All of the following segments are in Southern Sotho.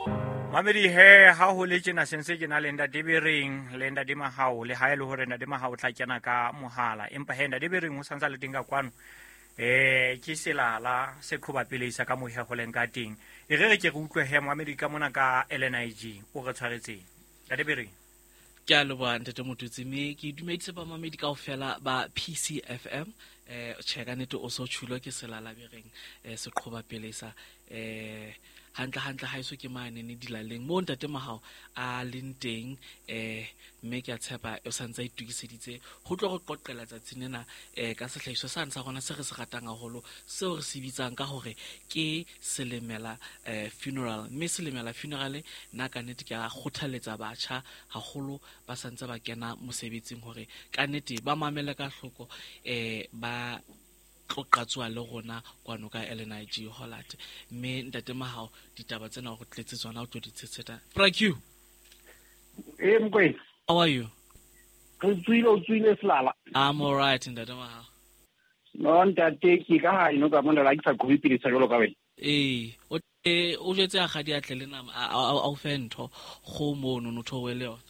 Mamedi he ha ho le tjena sentse ke na le ntate Bereng le ntate Mahao le ha e le hore ntate Mahao o tla kena ka mohala empa he ntate Bereng o santsa le teng ka kwano ke selala se qhoba pele isa ka mohe go leng ka teng e re re ke re utlwe he moamedi ka mona ka LNIG o re tshwaretseng ntate Bereng. Ke a leboha ntate Mototsi mme ke dumedise bamamedi kaofela ba PCFM. Tjhe ka nnete o so tjhulo ke selala Bereng se qhoba pele sa hantle hantle ha eso ke mane ne dilaleng mo ntate Mahao a leng teng mme ke a tshepa o santse a itukiseditse ho tlo re qoqela tsatsing lena ka sehlahiswa sane sa rona se re se ratang haholo seo re se bitsang ka hore ke Selemela funeral. Mme Selemela funeral nna ka nnete ke a kgothaletsa batjha haholo ba santse ba kena mosebetsing hore ka nnete ba mamele ka hloko ba tlo qatsoa le rona kwano ka LNIG Hollard. Mme ntate Mahao ditaba tsena o re tletse tsona o tlo di tshetsheta. Bra Q. Eh Mokwena. How are you? Re tswile o tswile selala. I'm all right ntate Mahao. No ntate ke ka ha ino ka mona la ke sa qhobe pele sa jwalo ka wena. Eh o o jwetse a ga di atle le nama a o fe ntho go mono no thowe le yona.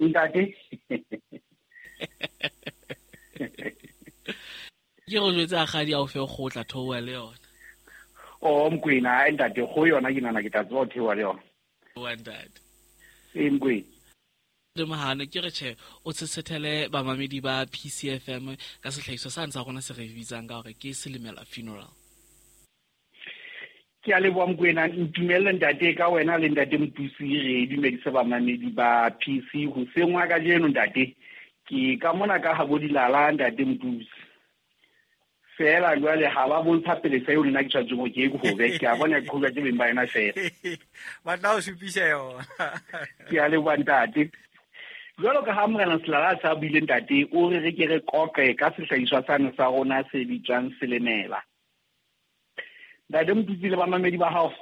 Ntate. Ke go jwetse a ga di a o fe go tla thowe le yona. O Mokwena ai ntate go yona ke nana ke tla tswa thewa le yona. Wa ntate. Eh Mokwena. Mahane ke re tjhe o tshetshethele bamamedi ba PCFM ka sehlahiswa sa ntsa rona se re bitsang ka hore ke Selemela funeral. Ke a leboha Mokwena, ntumelle ntate ka wena le ntate Motutsi re dumedise bamamedi ba PC hoseng wa kajeno ntate. Ke ka mona ka habo dilala ntate Motutsi. Fela jwale ha ba bontsha pele sa eo nna ke tshwanetseng hore ke e qobe, ke a bona ke qhoba ke beng ba yona fela. Ba tla o supisa yona. Ke a leboha ntate. Jwalo ka ha Morena Selala a sa buile ntate, o re re ke re qoqe ka sehlahiswa sane sa rona se bitswang Selemela. Ntate Motutsi le bamamedi ba hao,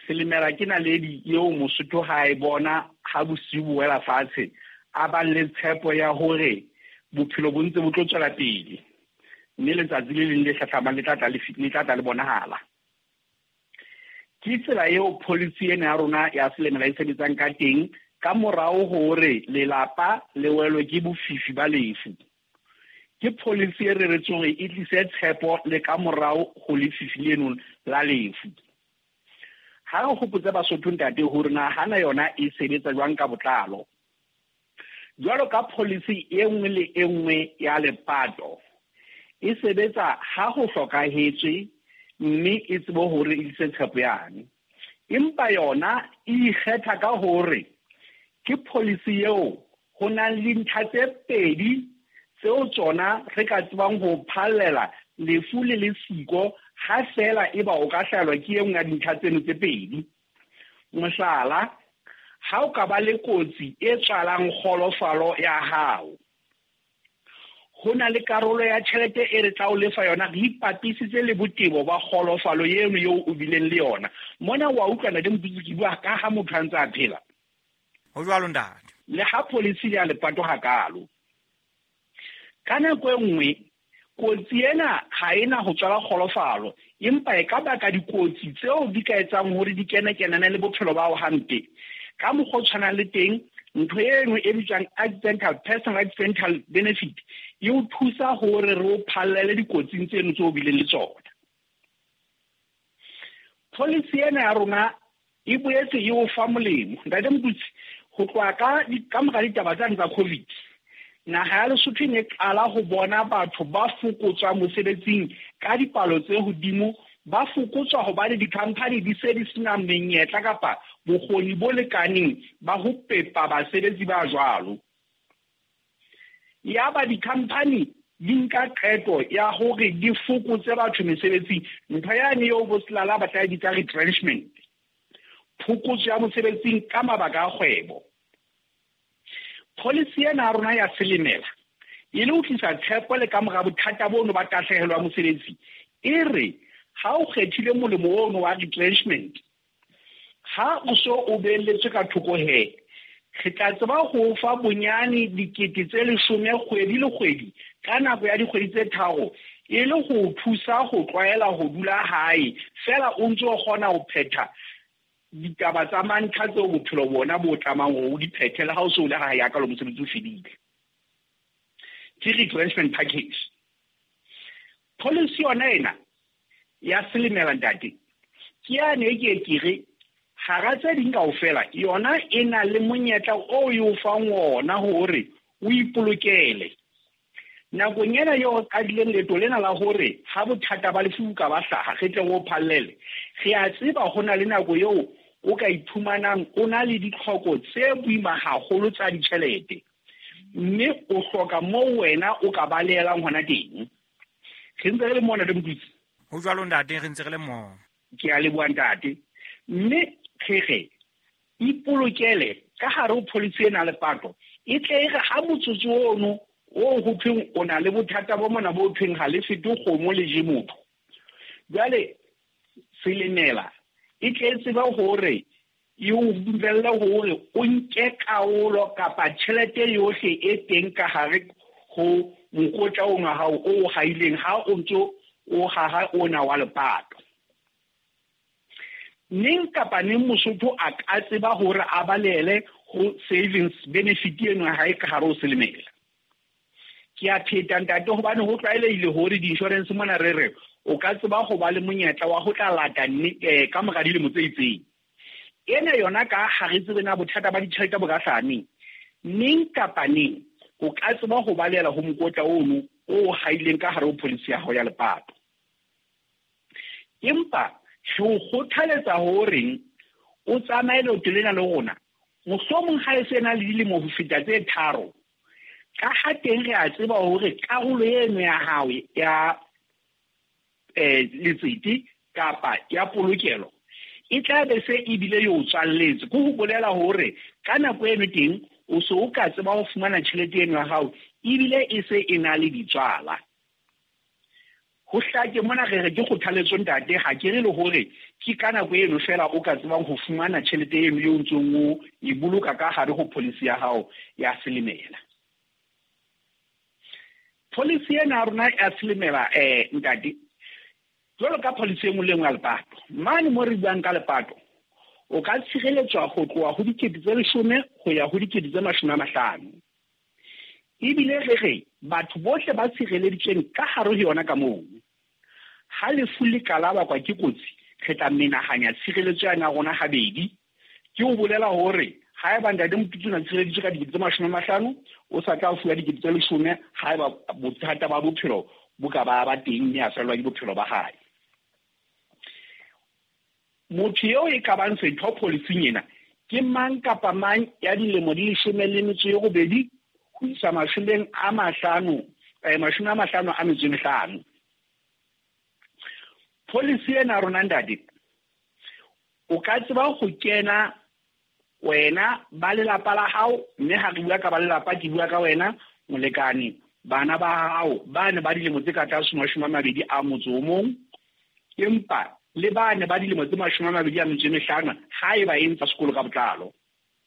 Selemela ke naledi eo Mosotho ha e bona ha bosiu bo wela fatshe, a bang le tshepo ya hore bophelo bo ntse bo tlo tswela pele. Mme letsatsi le leng le hlahlamang le tla tla le le tla tla le bonahala. Ke tsela eo policy ena ya rona ya Selemela e sebetsang ka teng ka morao hore lelapa le welwe ke bofifi ba lefu. Ke policy e reretsweng hore e tlise tshepo le ka morao ho lefifi leno la lefu. Ha re hopotse Basotho ntate hore na hana yona e sebetsa jwang ka botlalo. Jwalo ka policy e nngwe le e nngwe ya lepato, e sebetsa ha ho hlokahetswe mme e tsebe hore e tlise tshepo yane. Empa yona e ikgetha ka hore ke policy eo ho nang le dintlha tse pedi tseo tsona re ka tsebang ho phallela lefu le le siko ha fela eba o ka hlahelwa ke e nngwe ya dintlha tseno tse pedi. Mohlala, ha o ka ba le kotsi e tswalang kgolofalo ya hao, ho na le karolo ya tjhelete e re tla o lefa yona re ipapisitse le botebo ba kgolofalo eno eo o bileng le yona. Mona wa utlwa ntate Motutsi ke bua ka ha motho a ntse a phela. Ho jwalo ntate. Le ha policy ya lepato hakalo. Ka nako e nngwe kotsi ena ha ena ho tswala kgolofalo, empa e ka baka dikotsi tseo di ka etsang hore di kene-kenane le bophelo ba hao hampe. Ka mokgwa o tshwanang le teng, ntho eno e bitswang accidental, personal accidental benefit e o thusa hore re o phallele dikotsing tseno tseo o bileng le tsona. Policy ena ya rona e boetse e o fa molemo. Ntate Motutsi, ho tloha ka mora ditaba tsane tsa COVID, naha ya Lesotho e ne qala ho bona batho ba fokotswa mosebetsing ka dipalo tse hodimo, ba fokotswa hobane di-company di se di sena menyetla kapa bokgoni bo lekaneng ba ho pepa basebetsi ba jwalo. Yaba di-company di nka qeto ya hore di fokotse batho mesebetsing, ntho yane eo bo Selala ba tla e bitsa retrenchment, phokotso ya mosebetsing ka mabaka a kgwebo. Policy ena ya rona ya Selemela e le ho tlisa tshepo le ka mora bothata bono ba tahlehelo ya mosebetsi, e re ha o kgethile molemo ono wa retrenchment, ha o so o beelletswe ka thoko he, re tla tseba ho fa bonyane 10 000 kgwedi le kgwedi ka nako ya dikgwedi tse 3 e le ho thusa ho tlwaela ho dula hae fela o ntse o kgona ho phetha Ditaba tsa mantlha tseo bophelo bona bo tlamang hore o di phethe le ha o se o le hae ya ka lo mosebetsi o fedile. Ke retrenchment package. Policy yona ena ya Selemela, ntate, ke yane e ke ke re hara tse ding kaofela yona e na le monyetla o e o fang ona hore o ipolokele nakong ena eo re qadileng leeto lena la hore ha bothata ba lefu ka ba hlaha, re tle re o phallele. Re a tseba ho na le nako eo o ka iphumanang o na le ditlhoko tse boima haholo tsa ditjhelete, mme o hloka moo wena o ka balehelang hona teng. Re ntse re le mona le Motutsi. Ho jwalo, ntate, re ntse re le moo. Ke a leboha, ntate. Mme re re ipolokele ka hare ho policy ena lepato, e tle e re ha motsotso ono o ho thweng o na le bothata bo mona bo thweng ha le fete kgomo le je motho, jwale Selemela e tle e tsebe hore e o dumelle hore o nke karolo kapa tjhelete yohle e teng ka hare ho mokotla ono wa hao o haileng ha o ntso o haha ona wa lepato. Neng kapa neng Mosotho a ka tseba hore a balele ho savings benefit eno ya hae ka hare ho Selemela. Ke a pheta, ntate, hobane ho tlwaelehile hore di-insurance mona re re o ka tseba ho ba le monyetla wa ho tla lata ka mora dilemo tse itseng. Ena yona ka ha re tsebe na bothata ba ditjhelete bo ka hlaha neng, neng kapa neng o ka tseba ho balela ho mokotla ono o haileng ka hare ho policy ya hao ya lepato. Empa re o kgothaletsa horeng o tsamaye leeto lena le rona, mohlomong ha e se na le dilemo ho feta tse 3, ka ha teng re a tseba hore karolo eno ya hao ya letsete kapa ya polokelo e tla be se ebile e o tswalletse. Ke ho bolela hore ka nako eno teng o se o ka tseba ho fumana tjhelete eno ya hao ebile e se e na le ditswala. Ho hlake mona re re ke kgothaletso, ntate, ha ke re le hore ke ka nako eno fela o ka tsebang ho fumana tjhelete eno eo ntsong o e boloka ka hare ho policy ya hao ya Selemela. Policy ena ya rona ya Selemela, ntate, jwalo ka policy e nngwe le nngwe ya lepato, mane mo re buang ka lepato, o ka tshireletswa ho tloha ho 10 000 ho ya ho 50 000. Ebile re re batho bohle ba tshireleditsweng ka hare ho yona ka moo, ha lefu le ka la bakwa ke kotsi, re tla menahanya tshireletso yana ya rona habedi. Ke ho bolela hore haeba ntate Motutsi o na tshireleditswe ka 50 000, o sa tla fuwa 10 000 haeba bothata ba bophelo bo ka ba ba teng mme a fellwa ke bophelo ba hae. Motho eo e ka bang setho policing ena ke mang kapa mang ya dilemo di 18 ho isa 50, 55. Policy ena rona, ntate, o ka tseba ho kena wena, ba lelapa la hao, mme ha re bua ka ba lelapa ke bua ka wena, molekane, bana ba hao ba ne ba dilemo tse ka tlase 21, empa le ba ne ba dilemo tse 25 haeba e ntsa sekolo ka botlalo.